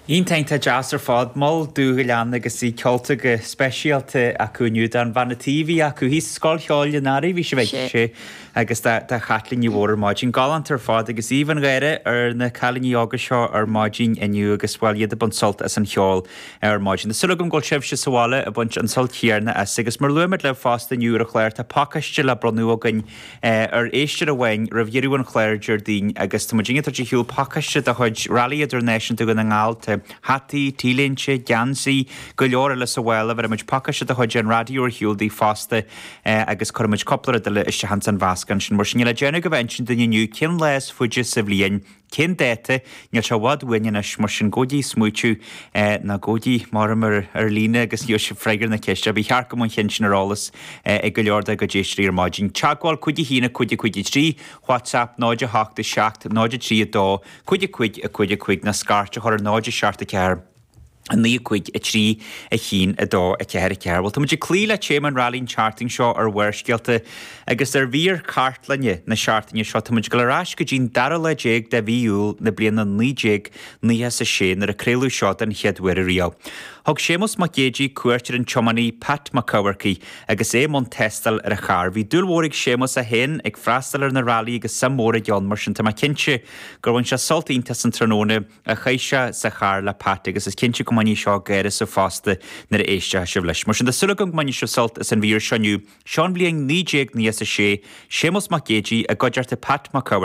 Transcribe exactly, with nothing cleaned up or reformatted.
Iontach iontach deas ar fad Mol Dúghaileán agus í ceolta go speisialta acu inniu don bhanna TV acu thíos Scoil Cheoil an Earraigh bhí sé bheith sé agus tá Chaitlín Ní Mhór ar maidin galánta ar fad agus aoibh an gháire ar na cailíní óga seo ar maidin inniu agus bhfuil iad ag baint sult as an cheol ar maidin. Súil agam go bhfuil sibhse sa bhaile ag baint an sult céanna as agus mar luaimid libh fosta inniu ar an chlár tá pacáiste le bronnadh againn ar éisteoir amháin roimh dheireadh an chláir Déardaoin agus tá muid ag tabhairt ar shiúl pacáiste de chuid Rally Idirnáisiúnta Dhún na nGall tá hataí, T-léinte, geansaí, go leor eile sa bhaile bheir pacáiste de chuid an raidió ar shiúl daoibh fosta agus cuirfimid cúpla rud eile isteach san mheascán sin mar sin le déanamh go bheith sin duine inniu cén lá is faide sa bhliain Cén dáta níl sé i bhfad uainn anois mar sin gabhaigí smaoitiú nó gabhaigí mar ar ar líne agus gheobhaidh sibh freagra na ceiste. Ba cheart go mbeadh an cheann sin ar eolas ag go leor dár gcuid éisteoirí ar maidin. Teagmháil cúig a haon cúig cúig trí, WhatsApp náid a hocht a seacht náid a trí a dó, cúig a cúig a cúig a cúig nó scairt a chur ar náid a seacht a ceathair. a naoi cúig a trí a haon a dó a ceathair a ceathair. Well tá muid ag cloí le téama an rally an tseachtain seo ar Bharrscéalta agus ar mhír cartlainne na seachtaine seo tá muid ag dul ar ais go dtí'n dara lá déag de mhí Iúil na bliana naoi déag nócha a sé nuair a craoladh seo den chéad uair riamh. Thug Séamus Mac Géidigh cuairt ar an tiománaí Pat Mac Eamharcaigh agus é i mbun tástáil ar a charr. Bhí dúil mhór ag Séamus é féin ag freastal ar na rally agus suim mhór aige ann mar sin tá mé cinnte gur bhain sé sult iontach as an tráthnóna a chaith sé sa charr le Pat agus is cinnte go mbainfidh seo gáire sa fosta nuair a éistfidh sibh leis. Mar sin tá súil agam go mbainfidh sibh sult as an mhír seo inniu. Seo an bhliain naoi déag nócha a sé, Séamus Mac Géidigh i gcuideachta Pat Mac